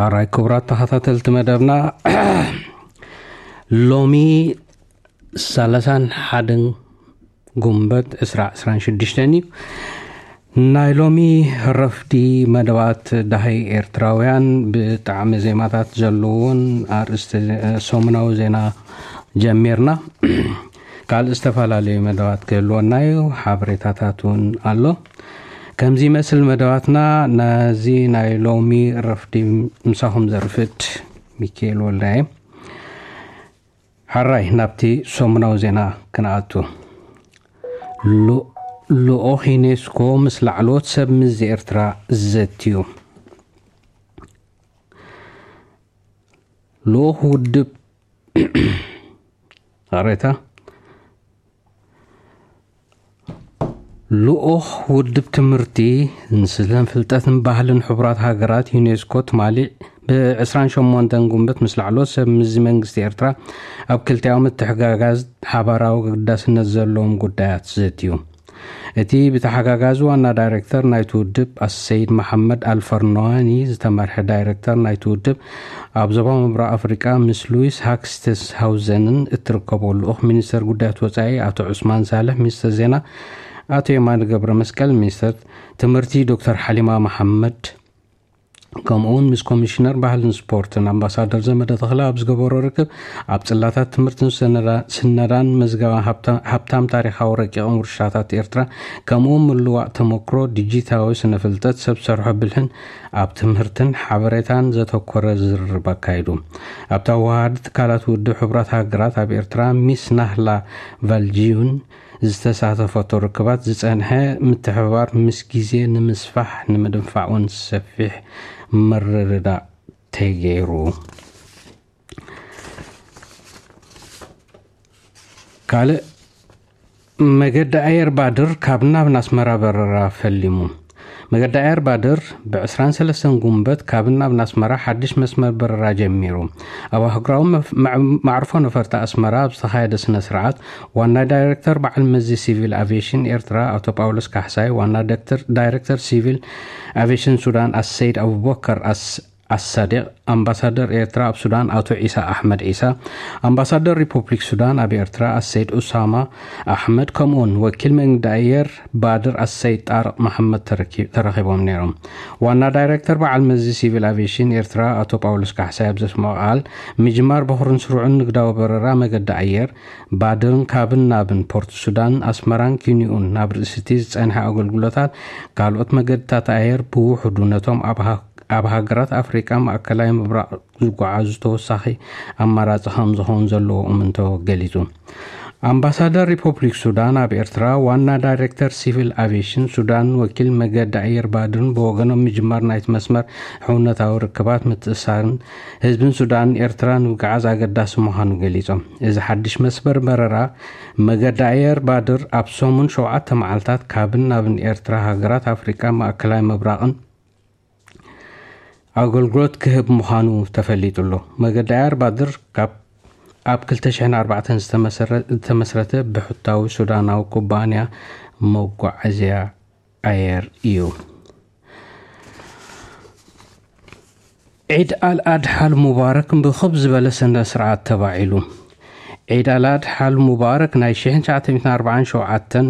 ኣራይ ክቡራት ተኸታተልቲ መደብና፣ ሎሚ ሰላሳን ሓደን ጉንበት ዕስራ ዕስራን ሽዱሽተን እዩ። ናይ ሎሚ ረፍዲ መደባት ዳሃይ ኤርትራውያን ብጣዕሚ ዜማታት ዘለዎን ኣርእስቲ ሰሙናዊ ዜና ጀሚርና። ካልእ ዝተፈላለዩ መደባት ክህልወና እዩ፣ ሓበሬታታት እውን ኣሎ። ከምዚ ይመስል መደባትና። ነዚ ናይ ሎሚ ረፍዲ ምሳኹም ዘርፍድ ሚካኤል ወልዳየ። ሓራይ ናብቲ ሰሙናዊ ዜና ክንኣቱ። ሉ-፣ ልኡኽ ዩኔስኮ ምስ ላዕለዎት ሰብ ምዚ ኤርትራ ዘትዩ። ልኡኽ ውድብ ሬታ ልኡኽ ውድብ ትምህርቲ፣ ንስለን ፍልጠትን ባህልን ሕቡራት ሃገራት ዩኔስኮ ትማሊ ብ ዕስራን ሸሞንተን ጉንበት ምስ ላዕለዎት ሰብ ምዚ መንግስቲ ኤርትራ ኣብ ክልቲኣዊ ምትሕጋጋዝ ሓባራዊ ግዳስነት ዘለዎም ጉዳያት ዘትዩ። እቲ ብተሓጋጋዚ ዋና ዳይሬክተር ናይቲ ውድብ ኣሰይድ መሓመድ ኣልፈርኖዋኒ ዝተመርሐ ዳይሬክተር ናይቲ ውድብ ኣብ ዞባ ምብራቕ ኣፍሪቃ ምስ ሉዊስ ሃክስተስሃውዘንን እትርከቦ ልኡኽ ሚኒስተር ጉዳያት ወጻኢ ኣቶ ዑስማን ሳልሕ፣ ሚኒስተር ዜና ኣቶ የማነ ገብረ መስቀል፣ ሚኒስተር ትምህርቲ ዶክተር ሓሊማ መሓመድ፣ ከምኡውን ምስ ኮሚሽነር ባህልን ስፖርትን ኣምባሳደር ዘመደ ተኽለ ኣብ ዝገበሮ ርክብ፣ ኣብ ጽላታት ትምህርትን ስነዳ-፣ ስነዳን መዝገባ ሃብታ-፣ ሃብታም ታሪኻዊ ረቂቕን ውርሻታት ኤርትራ፣ ከምኡውን ምልዋእ ተመክሮ ዲጂታዊ ስነ ፍልጠት፣ ሰብ ሰርሖ ብልሕን ኣብ ትምህርትን ሓበሬታን ዘተኮረ ዝርርብ ኣካይዱ። ኣብታ ወሃዲ ትካላት ውድብ ሕቡራት ሃገራት ኣብ ኤርትራ ሚስ ናህላ ቫልጂዩን ዝተሳተፈቶ ርክባት ዝጸንሐ ምትሕብባር ምስ ግዜ ንምስፋሕ ንምድንፋዕ እውን ሰፊሕ ምርድዳእ ተገይሩ። ካልእ መገዲ ኣየር ባድር ካብ ናብ ናስመራ በረራ ፈሊሙ። መገዲ ኣየር ባድር ብ ዕስራን ሰለስተን ጉንበት ካብ ናብ ናስመራ ሓድሽ መስመር በረራ ጀሚሩ። ኣብ ኣህጉራዊ መፍ-፣ መዕ-፣ ማዕርፎ ነፈርቲ ኣስመራ ኣብ ዝተኻየደ ስነ ስርዓት ዋና ዳይሬክተር በዓል መዚ ሲቪል ኣቪዬሽን ኤርትራ ኣቶ ጳውሎስ ካሕሳይ፣ ዋና ዳይሬክተር፣ ዳይሬክተር ሲቪል ኣቪዬሽን ሱዳን ኣሰይድ ኣቡበከር ኣስ-፣ ኣሳዲቕ፣ ኣምባሳደር ኤርትራ ኣብ ሱዳን ኣቶ ዒሳ ኣሕመድ ዒሳ፣ ኣምባሳደር ሪፑብሊክ ሱዳን ኣብ ኤርትራ ኣሰይድ ኡሳማ ኣሕመድ፣ ከምኡውን ወኪል መንገዲ ኣየር ባድር ኣሰይድ ጣርቕ መሓመድ ተረኪ-፣ ተረኺቦም ነይሮም። ዋና ዳይሬክተር በዓል መዚ ሲቪል ኣቪዬሽን ኤርትራ ኣቶ ጳውሎስ ካሕሳይ ኣብ ዘስምዖ ቃል፣ ምጅማር በኹርን ስሩዕን ንግዳዊ በረራ መገዲ ኣየር ባድርን ካብን ናብን ፖርት ሱዳን፣ ኣስመራን ኪንዮኡን ናብ ርእሲ እቲ ዝጸንሐ ኣገልግሎታት ካልኦት መገድታት ኣየር ብውሑዱ ነቶም ኣብ ሃ-፣ ኣብ ሃገራት ኣፍሪቃ ማእከላይ ምብራቕ ዝጓዓዙ ተወሳኺ ኣማራጺ ከም ዝኸውን ዘለዎ እምንቶ ገሊጹ። ኣምባሳደር ሪፐብሊክ ሱዳን ኣብ ኤርትራ፣ ዋና ዳይሬክተር ሲቪል ኣቪዬሽን ሱዳን፣ ወኪል መገዲ ኣየር ባድርን ብወገኖም፣ ምጅማር ናይቲ መስመር ሕውነታዊ ርክባት፣ ምትእስሳርን ህዝብን ሱዳንን ኤርትራን ንምግዓዝ ኣገዳሲ ምዃኑ ገሊጾም። እዚ ሓድሽ መስመር በረራ መገዲ ኣየር ባድር ኣብ ሰሙን ሸውዓተ መዓልታት ካብን ናብን ኤርትራ፣ ሃገራት ኣፍሪቃ፣ ማእከላይ ምብራቕን ኣገልግሎት ክህብ ምዃኑ ተፈሊጡ ኣሎ። መገዲ ኣየር ባድር ካብ ኣብ ክልተ ሽሕን ኣርባዕተን ዝተመሰረ-፣ ዝተመስረተ ብሕታዊ ሱዳናዊ ኩባንያ መጓዓዝያ ኣየር እዩ። ዒድ ኣልኣድሓ ኣልሙባረክ ብኽብ ዝበለ ስነ ስርዓት ተባዒሉ። ዒድ ኣልኣድሓ ኣልሙባረክ ናይ ሽሕን ትሽዓተ ሚእትን ኣርባዓን ሸውዓተን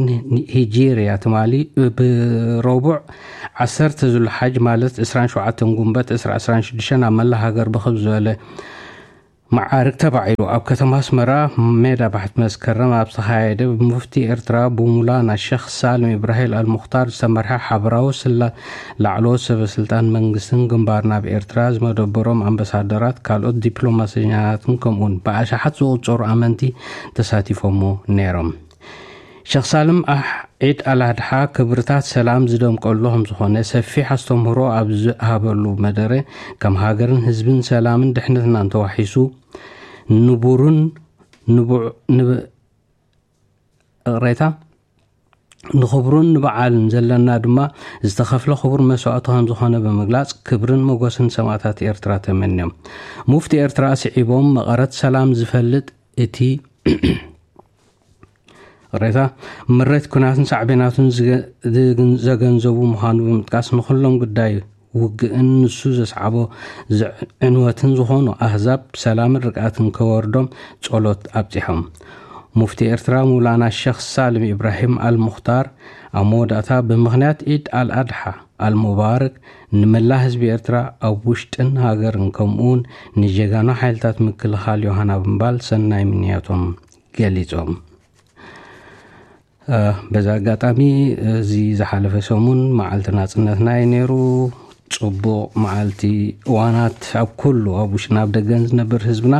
ሂጂርያ ትማሊ ብረቡዕ ዓሰርተ ዙልሓጅ ማለት ዕስራን ሸውዓተን ጉንበት ዕስራ ዕስራን ሽዱሽተን ኣብ መላእ ሃገር ብኽብ ዝበለ መዓርግ ተባዒሉ። ኣብ ከተማ ኣስመራ ሜዳ ባሕቲ መስከረም ኣብ ዝተኻየደ ብሙፍቲ ኤርትራ ብሙላና ሸኽ ሳልም ኢብራሂም ኣልሙኽታር ዝተመርሐ ሓበራዊ ስላ ላዕለዎት ሰበ ስልጣን መንግስትን ግንባርን ኣብ ኤርትራ ዝመደበሮም ኣምባሳደራት፣ ካልኦት ዲፕሎማሰኛታትን ከምኡውን ብኣሽሓት ዝቑጸሩ ኣመንቲ ተሳቲፎሞ ነይሮም። ሸኽ ሳልም ኣሕ-፣ ዒድ ኣልኣድሓ ክብርታት ሰላም ዝደምቀሉ ከም ዝኾነ ሰፊሕ ኣስተምህሮ ኣብ ዝሃበሉ መደረ፣ ከም ሃገርን ህዝብን ሰላምን ድሕነትናን ተዋሒሱ ንቡርን ንቡዕ-፣ ንብ-፣ ይቕሬታ፣ ንኽብሩን ንበዓልን ዘለና ድማ ዝተኸፍለ ክቡር መስዋእቲ ከም ዝኾነ ብምግላጽ፣ ክብርን ሞገስን ሰማእታት ኤርትራ ተመንዮም። ሙፍቲ ኤርትራ ስዒቦም፣ መቐረት ሰላም ዝፈልጥ እቲ ይቕሬታ፣ ምሬት ኩናትን ሳዕቤናቱን ዝገ-፣ ዝግን-፣ ዘገንዘቡ ምዃኑ ብምጥቃስ፣ ንኹሎም ግዳይ ውግእን ንሱ ዘስዓቦ ዕንወትን ዝኾኑ ኣህዛብ ሰላምን ርግኣትን ከወርዶም ጸሎት ኣብጺሖም። ሙፍቲ ኤርትራ ሙላና ሸኽ ሳልም ኢብራሂም ኣልሙኽታር ኣብ መወዳእታ ብምኽንያት ዒድ ኣልኣድሓ ኣልሙባረክ ንመላ ህዝቢ ኤርትራ ኣብ ውሽጥን ሃገርን ከምኡውን ንጀጋኑ ሓይልታት ምክልኻል ዮሃና ብምባል ሰናይ ምንያቶም ገሊጾም። በዚ ኣጋጣሚ እዚ ዝሓለፈ ሰሙን መዓልቲ ናጽነትና እዩ ነይሩ። ጽቡቕ መዓልቲ። እዋናት ኣብ ኩሉ ኣብ ውሽጥን ኣብ ደገን ዝነብር ህዝብና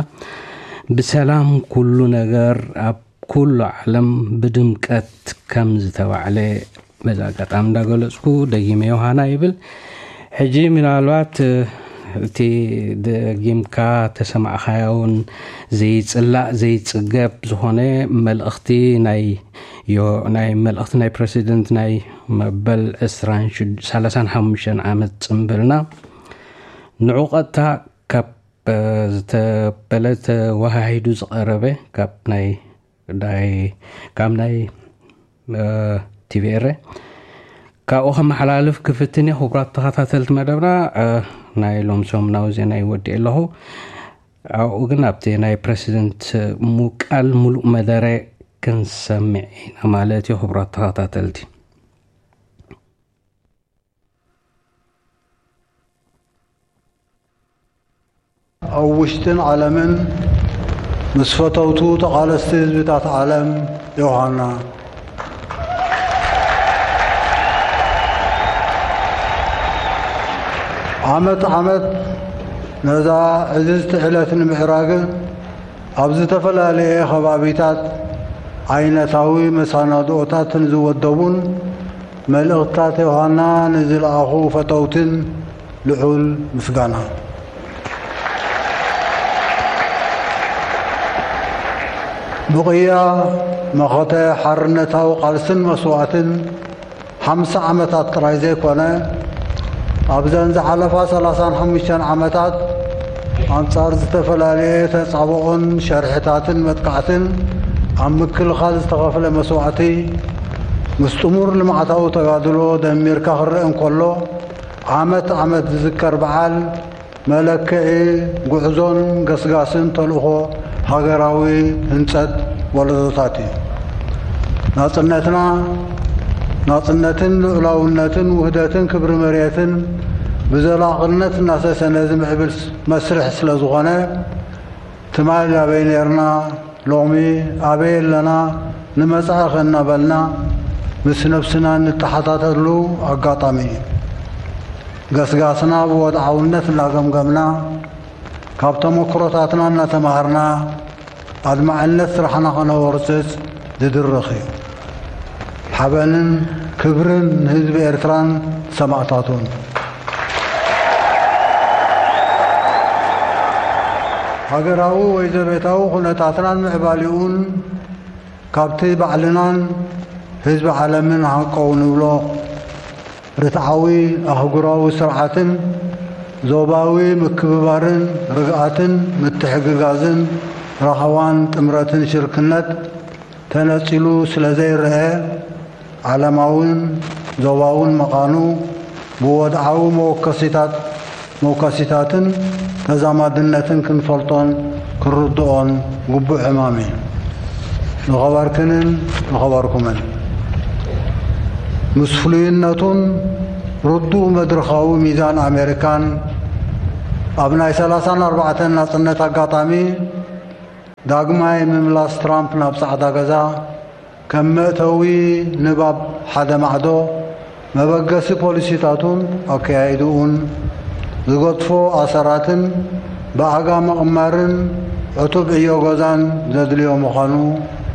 ብሰላም ኩሉ ነገር ኣብ ኩሉ ዓለም ብድምቀት ከም ዝተባዕለ በዚ ኣጋጣሚ እንዳገለጽኩ ደጊመ ዮሃና ይብል። ሕጂ ምናልባት እቲ ደጊምካ ተሰማዕኻዮ እውን ዘይጽላእ ዘይጽገብ ዝኾነ መልእኽቲ ናይ ናይ መልእኽቲ ናይ ፕረሲደንት ናይ መበል ዕስራን ሸሞንተን ዓመት ጽምብልና ንዑ ቀጥታ ካብ ዝተበለ ተወሃሂዱ ዝቐረበ ካብ ናይ ዳይ ካብ ናይ ቲቪኤረ ካብኡ ከመሓላልፍ ክፍትን እየ። ክቡራት ተኸታተልቲ መደብና ናይ ሎም ሰሙናዊ ዜና ይወዲ ኣለኹ። ኣብኡ ግን ኣብቲ ናይ ፕረሲደንት ሙቃል ሙሉእ መደረ ክንሰምዕ ኢና ማለት እዩ። ክቡራት ተኸታተልቲ ኣብ ውሽጥን ዓለምን ምስ ፈተውቱ ተቓለስቲ ህዝብታት ዓለም ዮሃና። ዓመት ዓመት ነዛ ዕዝዝቲ ዕለት ንምዕራግ ኣብ ዝተፈላለየ ከባቢታት ዓይነታዊ መሰናድኦታት ንዝወደቡን መልእኽትታት ዮሃና ንዝለኣኹ ፈተውትን ልዑል ምስጋና። ብቕያ መኸተ ሓርነታዊ ቃልስን መስዋእትን ሓምሳ ዓመታት ጥራይ ዘይኮነ ኣብዘን ዝሓለፋ ሰላሳን ሓሙሽተን ዓመታት ኣንጻር ዝተፈላለየ ተጻብኦን ሸርሕታትን መጥቃዕትን ኣብ ምክልኻል ዝተኸፍለ መስዋእቲ ምስ ጥሙር ልምዓታዊ ተጋድሎ ደሚርካ ክረአ እንከሎ ዓመት ዓመት ዝዝከር በዓል መለክዒ ጉዕዞን ገስጋስን ተልእኾ ሃገራዊ ህንጸት ወለዶታት እዩ። ናጽነትና ናጽነትን ልኡላውነትን ውህደትን ክብሪ መሬትን ብዘላቕነት እናሰሰነ ዝምዕብል መስርሕ ስለ ዝኾነ ትማል ኣበይ ኔርና ሎሚ ኣበይ ኣለና ንመጻኢ ከ እናበልና ምስ ነብስና እንተሓታተሉ ኣጋጣሚ እዩ። ገስጋስና ብወድዓውነት እናገምገምና ካብ ተመክሮታትና እናተማሃርና ኣድማዕነት ስራሕና ከነወርፅፅ ዝድርኽ እዩ። ሓበንን ክብርን ንህዝቢ ኤርትራን ሰማእታቱን። ሃገራዊ ወይ ዘቤታዊ ኩነታትናን ምዕባሊኡን ካብቲ ባዕልናን ህዝቢ ዓለምን ሃንቀው ንብሎ ርትዓዊ ኣህጉራዊ ስርዓትን ዞባዊ ምክብባርን ርግኣትን ምትሕግጋዝን ራህዋን ጥምረትን ሽርክነት ተነጺሉ ስለ ዘይረኣ ዓለማውን ዞባውን መቓኑ ብወድዓዊ መወከሲታት መውከሲታትን ተዛማድነትን ክንፈልጦን ክንርድኦን ግቡእ ዕማም እዩ። ዝኸበርክንን ዝኸበርኩምን ምስ ፍሉይነቱን ርዱእ መድረኻዊ ሚዛን ኣሜሪካን ኣብ ናይ ሰላሳን ኣርባዕተን ናጽነት ኣጋጣሚ ዳግማይ ምምላስ ትራምፕ ናብ ጻዕዳ ገዛ ከም መእተዊ ንባብ ሓደ ማዕዶ መበገሲ ፖሊሲታቱን ኣከያይድኡን ዝገድፎ ኣሰራትን ብኣጋ ምቕማርን ዕቱብ ዕዮ ገዛን ዘድልዮ ምዃኑ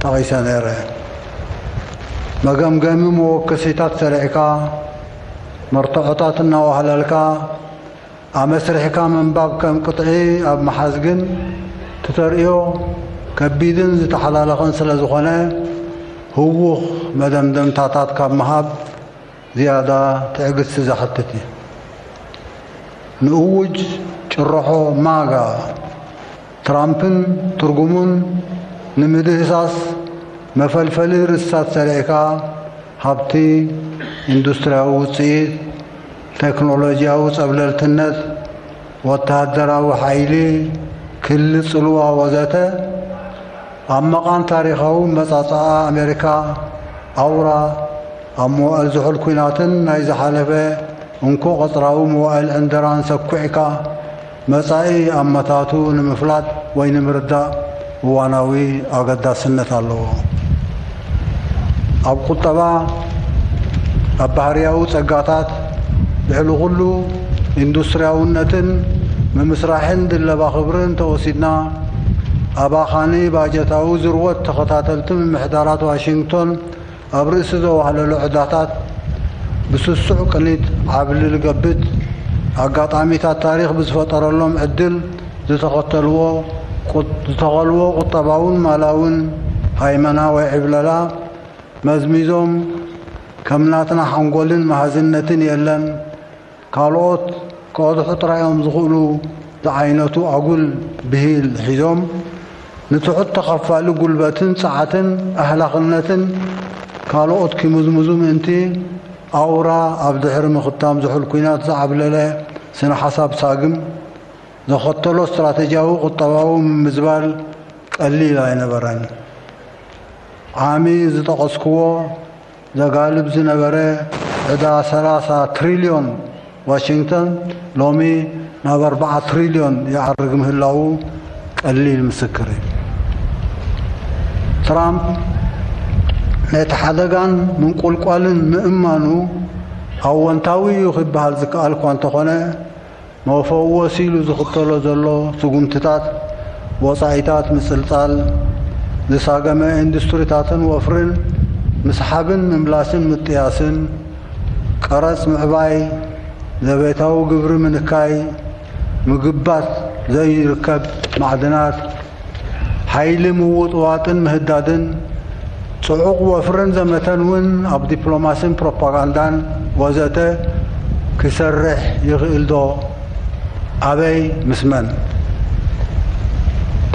ጠቒሰ ነይረ። መገምገሚ መወከሲታት ሰሪዕካ መርትዖታት እናዋህለልካ ኣመስሪሕካ ምንባብ ከም ቅጥዒ ኣብ ምሓዝ ግን እቲ ተርእዮ ከቢድን ዝተሓላለኸን ስለ ዝኾነ ህዉኽ መደምደምታታት ካብ ምሃብ ዝያዳ ትዕግስቲ ዘሕትት እዩ። ንእዉጅ ጭርሖ ማጋ ትራምፕን ትርጉሙን ንምድህሳስ መፈልፈሊ ርእስታት ሰሪዕካ ሃብቲ ኢንዱስትርያዊ ውፅኢት ቴክኖሎጂያዊ ጸብለልትነት፣ ወተሃደራዊ ሓይሊ፣ ክሊ ጽልዋ ወዘተ ኣብ መቓን ታሪኻዊ መጻጽኣ ኣሜሪካ ኣውራ ኣብ መዋእል ዝሑል ኲናትን ናይ ዝሓለፈ እንኮ ቀጽራዊ መዋእል ዕንደራን ሰኲዕካ መጻኢ ኣመታቱ ንምፍላጥ ወይ ንምርዳእ እዋናዊ ኣገዳስነት ኣለዎ። ኣብ ቁጠባ፣ ኣብ ባህርያዊ ጸጋታት፣ ልዕሊ ኩሉ ኢንዱስትርያውነትን ምምስራሕን ድለባ ክብርን ተወሲድና፣ ኣባኻኒ ባጀታዊ ዝርወት ተኸታተልቲ ምምሕዳራት ዋሽንግቶን ኣብ ርእሲ ዘዋህለሎ ዕዳታት ብስሱዕ ቅኒት ዓብሊ ልገብት ኣጋጣሚታት ታሪኽ ብዝፈጠረሎም ዕድል ዝተኸተልዎ ቁ-፣ ዝተኸልዎ ቁጠባውን ማላውን ሃይመና ወይ ዕብለላ መዝሚዞም ከም ናትና ሓንጎልን መሃዝነትን የለን፣ ካልኦት ክቐድሑ ጥራይ እዮም ዝኽእሉ ዝዓይነቱ ኣጉል ብሂል ሒዞም ንትሑት ተኸፋሊ ጉልበትን ጸዓትን ኣህላኽነትን ካልኦት ኪምዝምዙ ምእንቲ ኣውራ ኣብ ድሕሪ ምኽታም ዝሑል ኲናት ዝዓብለለ ስነ ሓሳብ ሳግም ዘኸተሎ ስትራተጂያዊ ቁጠባዊ ምምዝባል ቀሊል ኣይነበረን። ዓሚ ዝጠቐስክዎ ዘጋልብ ዝነበረ ዕዳ ሰላሳ ትሪልዮን ዋሽንግተን ሎሚ ናብ ኣርባዓ ትሪልዮን ይዓርግ ምህላዉ ቀሊል ምስክር እዩ። ትራምፕ ነቲ ሓደጋን ምንቁልቋልን ምእማኑ ኣወንታዊ እዩ ክበሃል ዝከኣል እኳ እንተኾነ፣ መፈወሲ ኢሉ ዝኽተሎ ዘሎ ስጉምትታት ወጻኢታት ምጽልጻል፣ ዝሳገመ ኢንዱስትሪታትን ወፍርን ምስሓብን ምምላስን ምጥያስን፣ ቀረጽ ምዕባይ፣ ዘቤታዊ ግብሪ ምንካይ፣ ምግባት ዘይርከብ ማዕድናት፣ ሓይሊ ምውጥዋጥን ምህዳድን፣ ጽዑቕ ወፍርን ዘመተን እውን ኣብ ዲፕሎማሲን ፕሮፓጋንዳን ወዘተ ክሰርሕ ይኽእል ዶ? ኣበይ ምስ መን?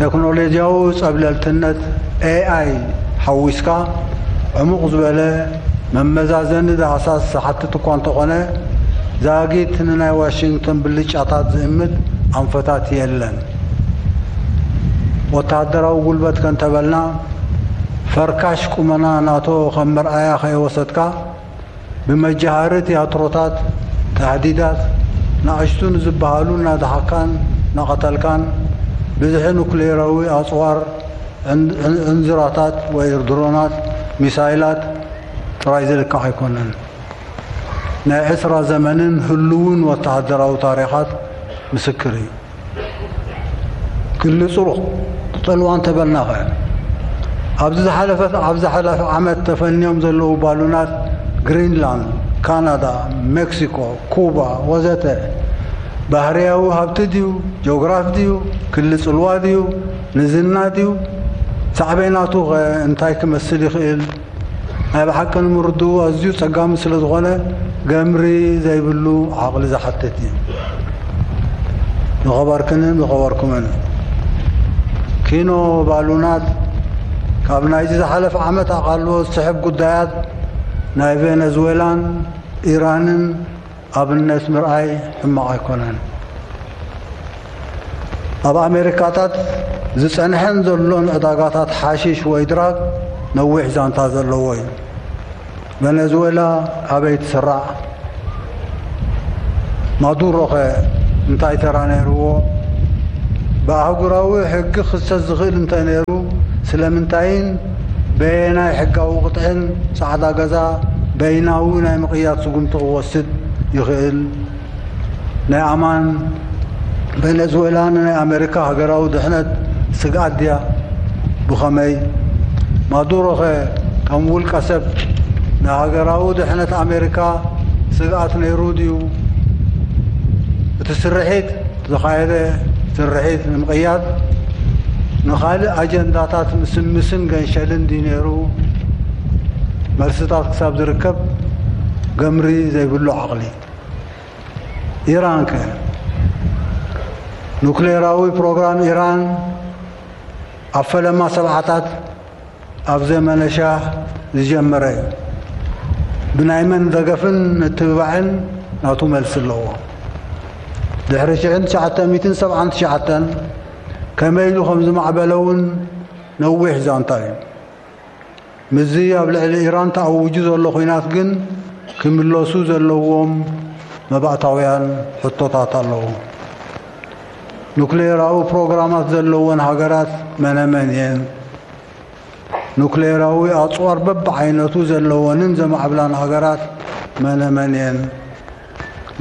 ቴክኖሎጂያዊ ጸብለልትነት ኤ ኣይ ሓዊስካ ዕሙቕ ዝበለ መመዛዘኒ ዳህሳስ ዝሓትት እኳ እንተኾነ፣ ዛጊት ንናይ ዋሽንግተን ብልጫታት ዝእምት ኣንፈታት የለን። ወተሃደራዊ ጉልበት ከንተበልና፣ ፈርካሽ ቁመና ናቶ ከም መርኣያ ከይወሰድካ፣ ብመጃሃሪ ትያትሮታት፣ ታህዲዳት፣ ናእሽቱ ንዝበሃሉ እናደሓካን እናቐተልካን፣ ብዝሒ ኑክሌራዊ ኣጽዋር፣ ዕን-፣ ዕን-፣ ዕንዝራታት ወይ ድሮናት፣ ሚሳይላት ጥራይ ዝልካዕ ኣይኮነን። ናይ ዕስራ ዘመንን ህሉውን ወተሃደራዊ ታሪኻት ምስክር እዩ። ክሊ ጽሩኽ ጽልዋ እንተበልናኸ፣ ኣብዚ ዝሓለፈት፣ ኣብ ዝሓለፈ ዓመት ተፈንዮም ዘለዉ ባሉናት ግሪንላንድ፣ ካናዳ፣ ሜክሲኮ፣ ኩባ ወዘተ ባህርያዊ ሃብቲ ድዩ? ጂኦግራፍ ድዩ? ክሊ ጽልዋ ድዩ? ንዝና ድዩ? ሳዕቤናቱ ኸ እንታይ ክመስል ይኽእል? ናይ ብሓቂ ንምርድኡ ኣዝዩ ጸጋሚ ስለ ዝኾነ፣ ገምሪ ዘይብሉ ዓቕሊ ዝሓትት እዩ። ዝኸበርክንን ዝኸበርኩምን፣ ኪኖ ባሉናት ካብ ናይዚ ዝሓለፈ ዓመት ኣቓልቦ ዝስሕብ ጉዳያት ናይ ቬነዝዌላን ኢራንን ኣብነት ምርኣይ ሕማቕ ኣይኮነን። ኣብ ኣሜሪካታት ዝጸንሐን ዘሎን ዕዳጋታት ሓሺሽ ወይ ድራግ ነዊሕ ዛንታ ዘለዎ እዩ። ቨነዝዌላ ኣበይ ትስራዕ? ማዱሮኸ እንታይ ተራ ነይርዎ? ብኣህጉራዊ ሕጊ ክኽሰስ ዝኽእል እንተ ነይሩ፣ ስለምንታይን በየናይ ሕጋዊ ቅጥዕን ጻዕዳ ገዛ በይናዊ ናይ ምቕያድ ስጉምቲ ክወስድ ይኽእል? ናይ ኣማን ቬነዝዌላ ንናይ ኣሜሪካ ሃገራዊ ድሕነት ስግኣት ድያ? ብኸመይ? ማዱሮኸ ከም ውልቀ ሰብ ንሃገራዊ ድሕነት ኣሜሪካ ስግኣት ነይሩ ድዩ? እቲ ስርሒት፣ ዝተኻየደ ስርሒት ንምቕያድ ንኻልእ ኣጀንዳታት ምስምስን ገንሸልን ድዩ ነይሩ? መልስታት ክሳብ ዝርከብ ገምሪ ዘይብሉ ዓቕሊ። ኢራንከ? ኑክሌራዊ ፕሮግራም ኢራን ኣብ ፈለማ ሰብዓታት ኣብ ዘመነ ሻህ ዝጀመረ እዩ። ብናይ መን ደገፍን ምትብባዕን ናቱ መልሲ ኣለዎ። ድሕሪ ሽሕን ትሽዓተ ሚእትን ሰብዓን ትሽዓተን ከመይ ኢሉ ከም ዝማዕበለ እውን ነዊሕ ዛንታ እዩ። ምስዚ ኣብ ልዕሊ ኢራን ተኣዊጁ ዘሎ ኲናት ግን ክምለሱ ዘለዎም መባእታውያን ሕቶታት ኣለዉ። ኑክሌራዊ ፕሮግራማት ዘለወን ሃገራት መነመን እየን? ኑክሌራዊ ኣጽዋር በብዓይነቱ ዘለወንን ዘማዕብላን ሃገራት መነመን እየን?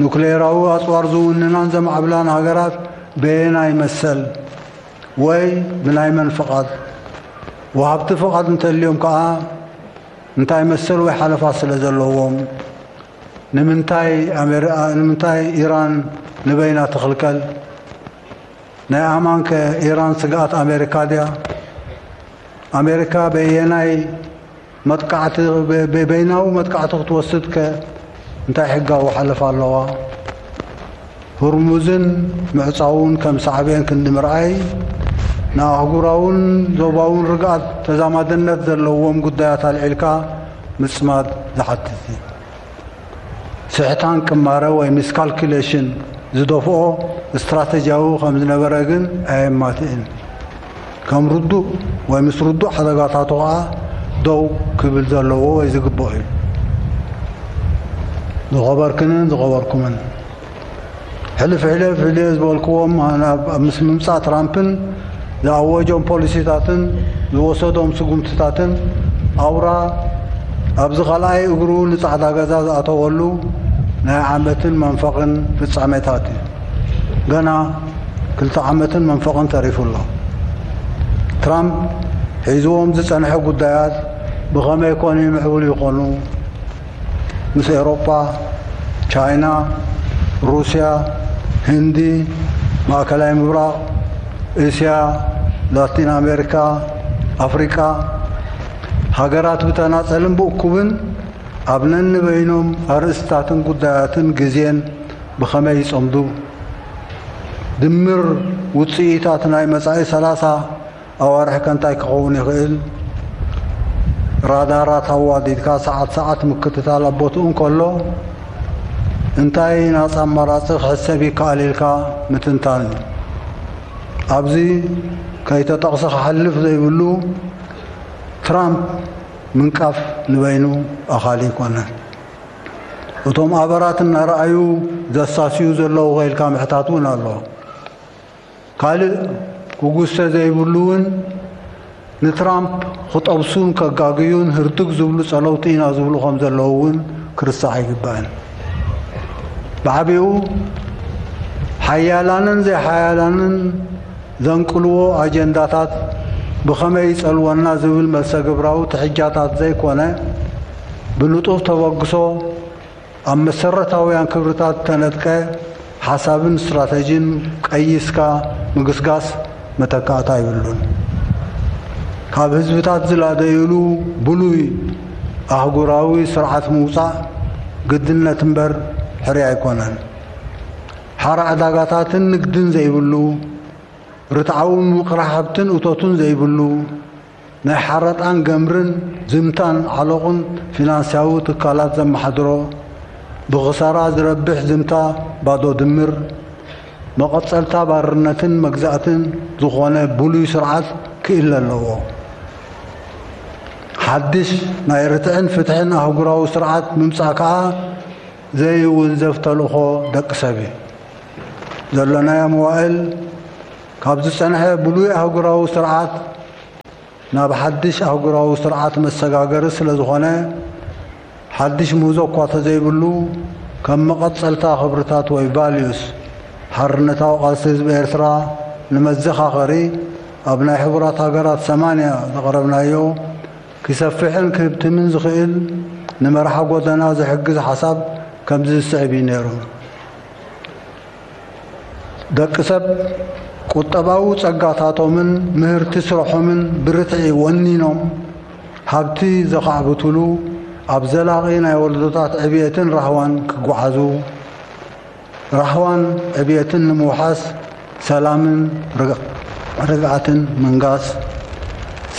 ኑክሌራዊ ኣጽዋር ዝውንናን ዘማዕብላን ሃገራት በየናይ መሰል ወይ ብናይ መን ፍቓድ? ወሃብቲ ፍቓድ እንተልዮም ከኣ እንታይ መሰል ወይ ሓለፋ ስለ ዘለዎም? ንምንታይ ኣሜሪ-፣ ንምንታይ ኢራን ንበይና ትኽልከል? ናይ ኣማን ከ ኢራን ስግኣት ኣሜሪካ ድያ? ኣሜሪካ በየናይ መጥቃዕቲ፣ በ-፣ በ-፣ በይናዊ መጥቃዕቲ ክትወስድ ከ እንታይ ሕጋዊ ሓለፋ ኣለዋ? ህርሙዝን ምዕጻውን ከም ሳዕቤን ክንዲ ምርኣይ፣ ንኣህጉራውን ዞባውን ርግኣት ተዛማድነት ዘለዎም ጉዳያት ኣልዒልካ ምጽማድ ዝሓትት እዩ። ስሕታን ቅማረ ወይ ሚስካልኩሌሽን ዝደፍኦ ስትራተጂያዊ ከም ዝነበረ ግን ኣየማትእን። ከም ርዱእ ወይ ምስ ርዱእ ሓደጋታቱ ከኣ ደው ክብል ዘለዎ ወይ ዝግብኦ እዩ። ዝኸበርክንን ዝኸበርኩምን፣ ሕልፍ ሕልፍ ኢለ ዝበልክዎም ኣብ፣ ኣብ ምስ ምምጻእ ትራምፕን ዝኣወጆም ፖሊሲታትን ዝወሰዶም ስጉምትታትን ኣውራ ኣብዚ ካልኣይ እግሩ ንጻዕዳ ገዛ ዝኣተወሉ ናይ ዓመትን መንፈቕን ፍጻሜታት እዩ። ገና ክልተ ዓመትን መንፈቕን ተሪፉ ኣሎ። ትራምፕ ሒዝዎም ዝጸንሐ ጉዳያት ብኸመይ ኮን ይምዕብሉ ይኾኑ? ምስ ኤውሮጳ፣ ቻይና፣ ሩስያ፣ ህንዲ፣ ማእከላይ ምብራቕ፣ እስያ፣ ላቲን ኣሜሪካ፣ ኣፍሪቃ፣ ሃገራት ብተናጸልን ብእኩብን ኣብ ነንበይኖም ኣርእስታትን ጉዳያትን ግዜን ብኸመይ ይጸምዱ? ድምር ውጽኢታት ናይ መጻኢ ሰላሳ ኣዋርሕ ከ እንታይ ክኸውን ይኽእል? ራዳራት ኣዋዲድካ ሰዓት ሰዓት ምክትታል ኣብ ቦትኡ እንከሎ፣ እንታይ ናጻ ኣማራጺ ክሕሰብ ይከኣል ኢልካ ምትንታን እዩ። ኣብዚ ከይተጠቕሰ ክሓልፍ ዘይብሉ፣ ትራምፕ ምንቃፍ ንበይኑ ኣኻሊ ኣይኮነን። እቶም ኣበራት እናረኣዩ ዘሳስዩ ዘለዉ ከ ኢልካ ምሕታት እውን ኣሎ። ካልእ ክጉሰ ዘይብሉ እውን ንትራምፕ ክጠብሱን ከጋግዩን ህርድግ ዝብሉ ጸለውቲ ኢና ዝብሉ ከም ዘለዉ እውን ክርስዕ ኣይግባእን። ብዓቢኡ ሓያላንን ዘይሓያላንን ዘንቅልዎ ኣጀንዳታት ብኸመይ ይጸልወና ዝብል መልሰ ግብራዊ ትሕጃታት ዘይኮነ፣ ብንጡፍ ተበግሶ ኣብ መሰረታውያን ክብርታት እተነድቀ ሓሳብን ስትራተጂን ቀይስካ ምግስጋስ መተካእታ የብሉን። ካብ ህዝብታት ዝላደዩሉ ብሉይ ኣህጉራዊ ስርዓት ምውጻእ ግድነት እምበር ሕርያ ኣይኮነን። ሓራ ዕዳጋታትን ንግድን ዘይብሉ፣ ርትዓዊ ምምቕራሕ ሃብትን እቶትን ዘይብሉ፣ ናይ ሓረጣን ገምርን ዝምታን ዓሎቕን ፊናንስያዊ ትካላት ዘመሓድሮ፣ ብኽሳራ ዝረብሕ ዝምታ ባዶ ድምር፣ መቐጸልታ ባርነትን መግዛእትን ዝኾነ ብሉይ ስርዓት ክእለ ኣለዎ። ሓድሽ ናይ ርትዕን ፍትሕን ኣህጉራዊ ስርዓት ምምጻእ ከኣ ዘይውንዘፍ ተልእኾ ደቂ ሰብ እዩ። ዘሎናዮ መዋእል ካብ ዝጸንሐ ብሉይ ኣህጉራዊ ስርዓት ናብ ሓድሽ ኣህጉራዊ ስርዓት መሰጋገሪ ስለ ዝኾነ፣ ሓድሽ ምህዞ እኳ ተዘይብሉ፣ ከም መቐጸልታ ክብርታት ወይ ቫልዩስ ሓርነታዊ ቃልሲ ህዝቢ ኤርትራ ንመዘኻኸሪ ኣብ ናይ ሕቡራት ሃገራት ሰማንያ ዘቕረብናዮ ክሰፍሕን ክህብትምን ዝኽእል ንመርሓ ጎደና ዝሕግዝ ሓሳብ ከምዚ ዝስዕብ እዩ ነይሩ። ደቂ ሰብ ቁጠባዊ ጸጋታቶምን ምህርቲ ስርሖምን ብርትዒ ወኒኖም ሃብቲ ዘኻዕብትሉ ኣብ ዘላቒ ናይ ወለዶታት ዕብየትን ራህዋን ክጓዓዙ፣ ራህዋን ዕብየትን ንምውሓስ ሰላምን ርግ-፣ ርግኣትን ምንጋስ፣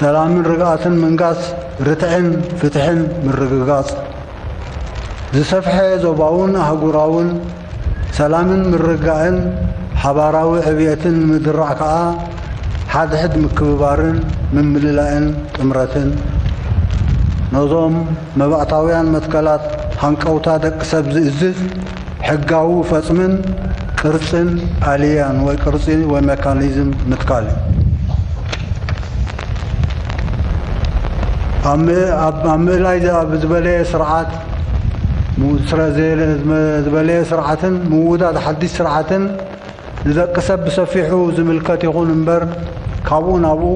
ሰላምን ርግኣትን ምንጋስ ርትዕን ፍትሕን ምርግጋጽ፣ ዝሰፍሐ ዞባውን ኣህጉራውን ሰላምን ምርግጋእን ሓባራዊ ዕብየትን ንምድራዕ ከኣ ሓድሕድ ምክብባርን ምምልላእን ጥምረትን ነዞም መባእታውያን መትከላት ሃንቀውታ ደቂ ሰብ ዝእዝዝ ሕጋዊ ፈጽምን ቅርጽን ኣልያን ወይ ቅርጺ ወይ ሜካኒዝም ምትካል እዩ። ኣብ ም-፣ ኣብ፣ ኣብ ምእላይ ዝ-፣ ኣብ ዝበለየ ስርዓት ሙ-፣ ስረ-፣ ዘ-፣ ዝበለየ ስርዓትን ምውዳድ ሓድሽ ስርዓትን ንደቂ ሰብ ብሰፊሑ ዝምልከት ይኹን እምበር፣ ካብኡ ናብኡ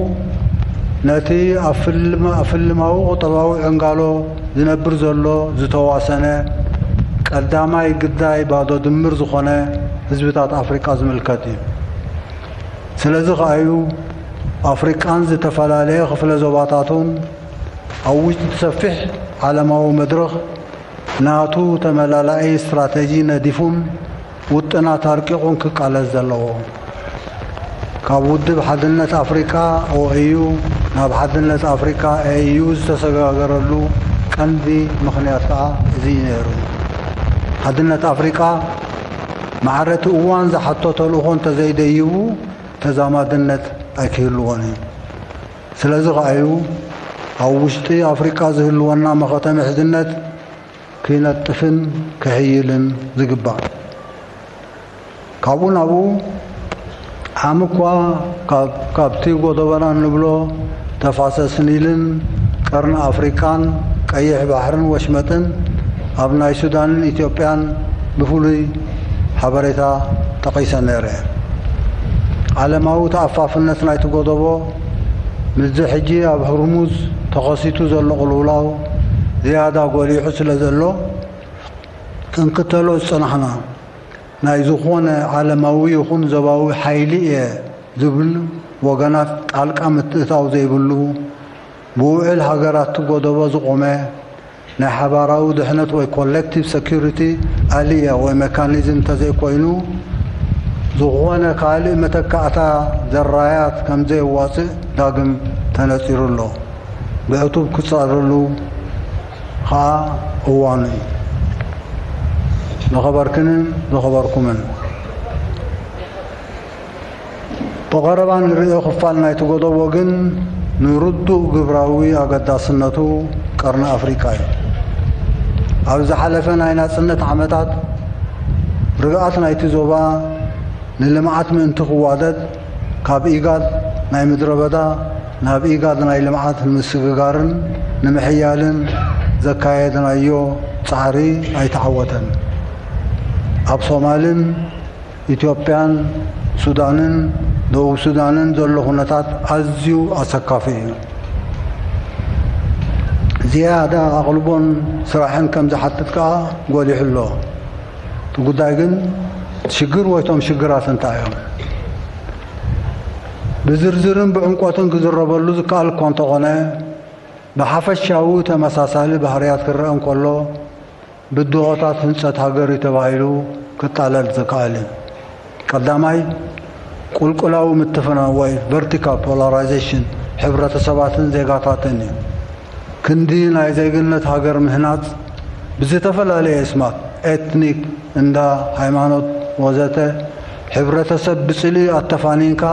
ነቲ ኣብ ፍልም-፣ ኣብ ፍልማዊ ቁጠባዊ ዕንጋሎ ዝነብር ዘሎ ዝተዋሰነ ቀዳማይ ግዳይ ባዶ ድምር ዝኾነ ህዝብታት ኣፍሪቃ ዝምልከት እዩ። ስለዚ ከኣዩ ኣፍሪቃን ዝተፈላለየ ክፍለ ዞባታቱን ኣብ ውሽጢ ሰፊሕ ዓለማዊ መድረኽ ናቱ ተመላላኢ ስትራተጂ ነዲፉን ውጥናት ኣርቂቑን ክቃለስ ዘለዎ። ካብ ውድብ ሓድነት ኣፍሪቃ፣ ኦኤዩ፣ ናብ ሓድነት ኣፍሪቃ፣ ኤዩ፣ ዝተሰጋገረሉ ቀንዲ ምኽንያት ከኣ እዚ እዩ ነይሩ። ሓድነት ኣፍሪቃ ማዕረ እቲ እዋን ዝሓቶ ተልእኾ እንተዘይደይቡ ተዛማድነት ኣይክህልዎን እዩ። ስለዚ ከኣዩ ኣብ ውሽጢ ኣፍሪቃ ዝህልወና መኸተ ምሕዝነት ክነጥፍን ክሕይልን ዝግባእ። ካብኡ ናብኡ ዓሚ እኳ ካብ-፣ ካብቲ ጎደቦና እንብሎ ተፋሰስ ኒልን ቀርኒ ኣፍሪቃን ቀይሕ ባሕርን ወሽመጥን ኣብ ናይ ሱዳንን ኢትዮጵያን ብፍሉይ ሓበሬታ ጠቒሰ ነይረ። ዓለማዊ ተኣፋፍነት ናይቲ ጎደቦ ምስዚ ሕጂ ኣብ ህርሙዝ ተኸሲቱ ዘሎ ቅልውላው ዝያዳ ጎሊሑ ስለ ዘሎ ክንክተሎ ዝጸናሕና ናይ ዝኾነ ዓለማዊ ይኹን ዞባዊ ሓይሊ እየ ዝብል ወገናት ጣልቃ ምትእታው ዘይብሉ ብውዕል ሃገራት እቲ ጎደቦ ዝቖመ ናይ ሓባራዊ ድሕነት ወይ ኮሌክቲቭ ሰኪሪቲ ኣልያ ወይ ሜካኒዝም እንተዘይኮይኑ ዝኾነ ካልእ መተካእታ ዘራያት ከምዘየዋፅእ ዳግም ተነፂሩ ኣሎ። ብዕቱብ ክፃረሉ ኸዓ እዋኑ እዩ። ዝኸበርክንን ዝኸበርኩምን ብቐረባ ንርእዮ ክፋል ናይቲ ጎደቦ ግን ንርዱእ ግብራዊ ኣገዳስነቱ ቀርኒ ኣፍሪቃ እዩ። ኣብ ዝሓለፈ ናይ ናጽነት ዓመታት ርግኣት ናይቲ ዞባ ንልምዓት ምእንቲ ክዋደድ ካብ ኢጋድ ናይ ምድረ በዳ ናብ ኢጋድ ናይ ልምዓት ንምስግጋርን ንምሕያልን ዘካየድናዮ ጻዕሪ ኣይተዓወተን። ኣብ ሶማልን ኢትዮጵያን ሱዳንን ደቡብ ሱዳንን ዘሎ ኩነታት ኣዝዩ ኣሰካፊ እዩ። ዝያዳ ኣቕልቦን ስራሕን ከም ዝሓትት ከኣ ጎሊሑ ኣሎ። እቲ ጉዳይ ግን ሽግር ወይ እቶም ሽግራት እንታይ እዮም? ብዝርዝርን ብዕምቆትን ክዝረበሉ ዝከኣል እኳ እንተኾነ፣ ብሓፈሻዊ ተመሳሳሊ ባህርያት ክረአ እንከሎ፣ ብድሆታት ህንጸት ሃገር እዩ ተባሂሉ ክጣለል ዝከኣል እዩ። ቀዳማይ፣ ቁልቁላዊ ምትፍናው ወይ ቨርቲካል ፖላራይዜሽን ሕብረተሰባትን ዜጋታትን እዩ። ክንዲ ናይ ዜግነት ሃገር ምህናጽ ብዝተፈላለየ ስማት፣ ኤትኒክ፣ እንዳ፣ ሃይማኖት፣ ወዘተ፣ ሕብረተሰብ ብጽልኢ ኣተፋኒንካ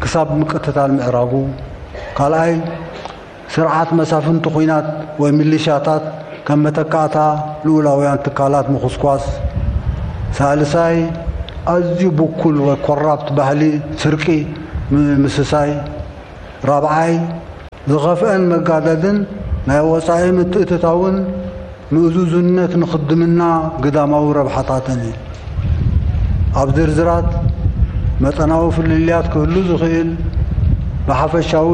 ክሳብ ምቅትታል ምዕራጉ። ካልኣይ፣ ስርዓት መሳፍንቲ ኲናት ወይ ሚሊሻታት ከም መተካእታ ልኡላውያን ትካላት ምኹስኳስ። ሳልሳይ፣ ኣዝዩ ብኩል ወይ ኮራፕት ባህሊ ስርቂ ም-፣ ምስሳይ። ራብዓይ፣ ዝኸፍአን መጋደድን ናይ ወጻኢ ምትእትታውን ምእዙዝነት ንኽድምና ግዳማዊ ረብሓታተን እዩ። ኣብ ዝርዝራት መጠናዊ ፍልልያት ክህሉ ዝኽእል፣ ብሓፈሻዊ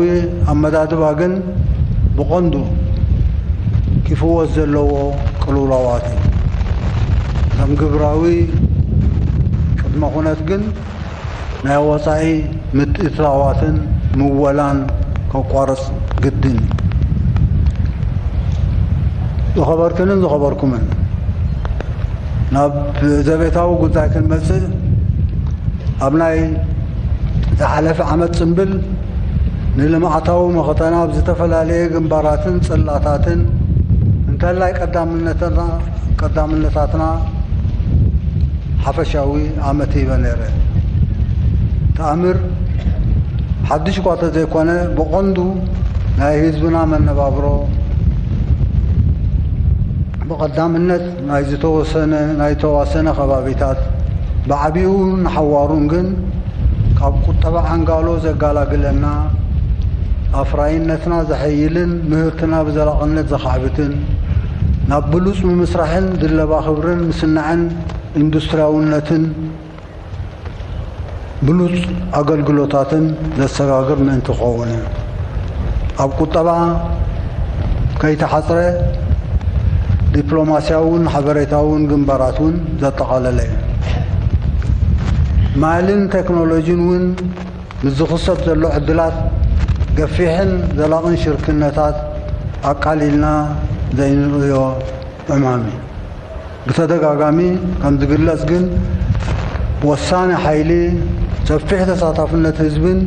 ኣመዳድባ ግን ብቐንዱ ክፍወስ ዘለዎ ቅልውላዋት እዩ። ከም ግብራዊ ቅድመ ኩነት ግን ናይ ወጻኢ ምትእትታዋትን ምወላን ከቋርጽ ግድን እዩ። ዝኸበርክንን ዝኸበርኩምን፣ ናብ ዘቤታዊ ጉዳይ ክንመጽእ፣ ኣብ ናይ ዝሓለፈ ዓመት ጽምብል ንልምዓታዊ መኸተና ኣብ ዝተፈላለየ ግንባራትን ጽላታትን እንተላይ ቀዳምነትና ቀዳምነታትና ሓፈሻዊ ኣመት ሂበ ነይረ። ተኣምር ሓድሽ እኳ ተዘይኮነ፣ ብቐንዱ ናይ ህዝብና መነባብሮ፣ ብቐዳምነት ናይ ዝተወሰነ፣ ናይ ተዋሰነ ከባቢታት፣ ብዓቢኡ ንሓዋሩን ግን ካብ ቁጠባ ዓንጋሎ ዘጋላግለና፣ ኣፍራይነትና ዘሐይልን ምህርትና ብዘላቕነት ዘኻዕብትን፣ ናብ ብሉጽ ምምስራሕን ድለባ ክብርን ምስናዕን ኢንዱስትሪያውነትን ብሉጽ ኣገልግሎታትን ዘሰጋግር ምእንቲ ክኸውን እዩ። ኣብ ቁጠባ ከይተሓጽረ፣ ዲፕሎማስያውን ሓበሬታውን ግንባራት እውን ዘጠቓለለ እዩ። ማልን ቴክኖሎጂን እውን ምስ ዝኽሰት ዘሎ ዕድላት፣ ገፊሕን ዘላቕን ሽርክነታት ኣቃሊልና ዘይንርእዮ ዕማም እዩ። ብተደጋጋሚ ከም ዝግለጽ ግን፣ ወሳኒ ሓይሊ ሰፊሕ ተሳታፍነት ህዝብን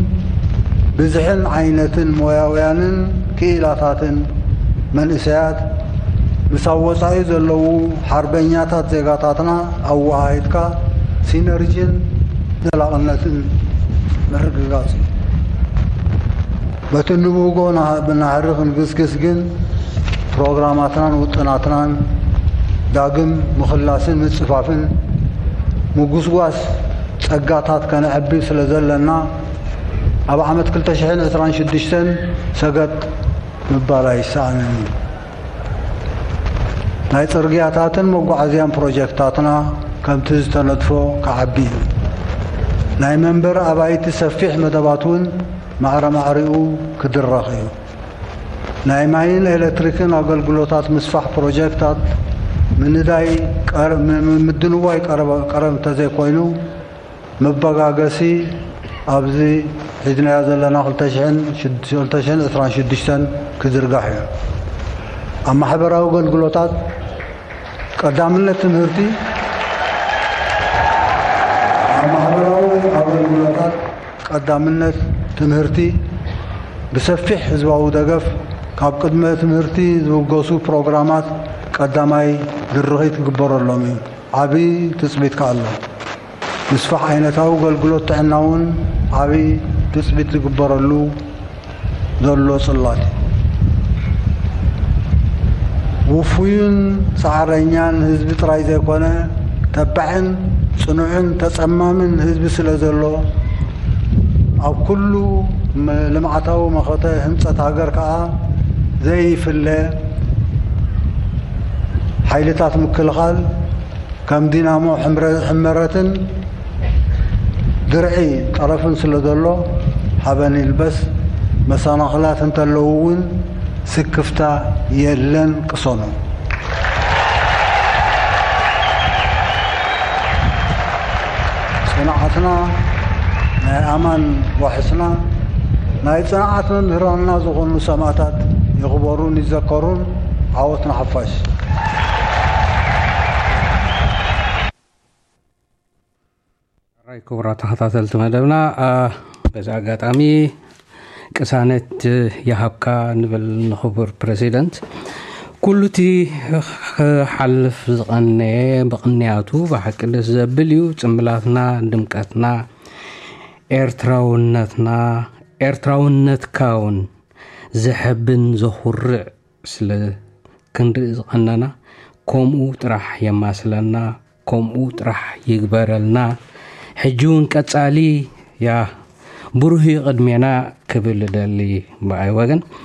ብዝሕን ዓይነትን ሞያውያንን ክኢላታትን መንእሰያት፣ ምስ ኣብ ወጻኢ ዘለዉ ሓርበኛታት ዜጋታትና ኣወሃሂድካ፣ ሲነርጂን ዘላቕነትን ምርግጋጽ እዩ። በቲ ንብህጎ ናህ-፣ ብናህሪ ክንግስግስ ግን፣ ፕሮግራማትናን ውጥናትናን ዳግም ምኽላስን ምጽፋፍን፣ ምጉስጓስ ጸጋታት ከነዕቢ ስለ ዘለና፣ ኣብ ዓመት ክልተ ሽሕን ዕስራን ሽዱሽተን ሰገጥ ምባል ኣይሰኣንን እዩ። ናይ ጽርግያታትን መጓዓዝያን ፕሮጀክታትና ከምቲ ዝተነድፎ ክዓቢ እዩ። ናይ መንበር ኣባይቲ ሰፊሕ መደባት እውን ማዕረ ማዕሪኡ ክድረኽ እዩ። ናይ ማይን ኤሌክትሪክን ኣገልግሎታት ምስፋሕ ፕሮጀክታት ምንዳይ ቀር-፣ ም-፣ ም-፣ ምድንዋይ ቀረበ-፣ ቀረብ እንተዘይኮይኑ፣ መበጋገሲ ኣብዚ ሒዝናዮ ዘለና ክልተ ሽሕን ሽድ-፣ ክልተ ሽሕን ዕስራን ሽዱሽተን ክዝርጋሕ እዩ። ኣብ ማሕበራዊ ኣገልግሎታት ቀዳምነት ትምህርቲ፣ ኣብ ማሕበራዊ ኣገልግሎታት ቀዳምነት ትምህርቲ፣ ብሰፊሕ ህዝባዊ ደገፍ ካብ ቅድመ ትምህርቲ ዝብገሱ ፕሮግራማት ቀዳማይ ድርኺት ክግበረሎም እዩ። ዓቢ ትጽቢት ከኣ ኣሎ። ምስፋሕ ዓይነታዊ ኣገልግሎት ጥዕና እውን ዓቢ ትጽቢት ዝግበረሉ ዘሎ ጽላት እዩ። ውፉይን ጻዕረኛን ህዝቢ ጥራይ ዘይኮነ፣ ተባዕን ጽኑዕን ተጸማምን ህዝቢ ስለ ዘሎ፣ ኣብ ኩሉ መ-፣ ልምዓታዊ መኸተ ህንጸት ሃገር ከኣ ዘይፍለ ሓይልታት ምክልኻል ከም ዲናሞ ሕምረ-፣ ሕመረትን ድርዒ ጠረፍን ስለ ዘሎ፣ ሓበን ይልበስ። መሰናኽላት እንተለዉ እውን ስክፍታ የለን፣ ቅሰኑ። ጽንዓትና ናይ ኣማን ዋሕስና፣ ናይ ጽንዓት መምህራንና ዝኾኑ ሰማእታት ይኽበሩን ይዘከሩን። ዓወት ንሓፋሽ። ሕራይ ክቡራት ተኸታተልቲ መደብና፣ አ፣ በዚ ኣጋጣሚ ቅሳነት ይሃብካ ንብል ንኽቡር ፕረሲደንት። ኩሉ እቲ ክሓልፍ ዝቐነየ ብቕንያቱ ብሓቂ ደስ ዘብል እዩ። ጽምብላትና፣ ድምቀትና፣ ኤርትራውነትና፣ ኤርትራውነትካ እውን ዘሐብን ዘኹርዕ ስለ ክንርኢ ዝቐነና፣ ከምኡ ጥራሕ የማስለና፣ ከምኡ ጥራሕ ይግበረልና። ሕጂ እውን ቀጻሊ፣ ያ፣ ብሩህ እዩ ቅድሜና ክብል እደሊ ብኣይ ወገን።